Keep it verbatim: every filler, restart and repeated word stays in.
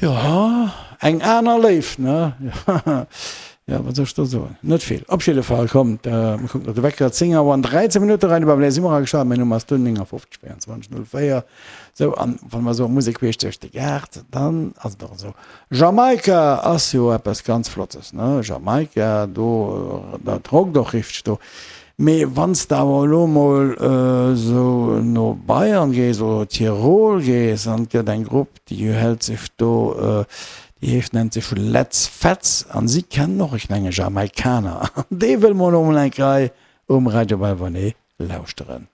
Jo, eng aner Léift, ne? Jo, wat soll ech do soen? Net vill. Op jidde Fall, kommt, mir kucken op de Wecker, zéng Auer an dräizéng Minutte, Radio Bavelair si mer ageschalt. Mäin Numm ass Dunn, néngafofzeg véierundzwanzeg null véier. Sou, an wa mer soe Musek queesch duerch de Gaart, dann ass et och esou. Jamaika ass jo eppes ganz Flottes, ne? Jamaika, do, dat rockt och richteg do. Mee wann s de awer elo mol esou no Bayern gees oder Tirol gees an et gëtt eng Grupp, déi hält sech do, déi heescht, nennt sech Letz Fetz an si kennen och, ech mengen, Jamaikaner. An dee wëlle mer elo mol eng Rei um Radio Belvernay lauschteren.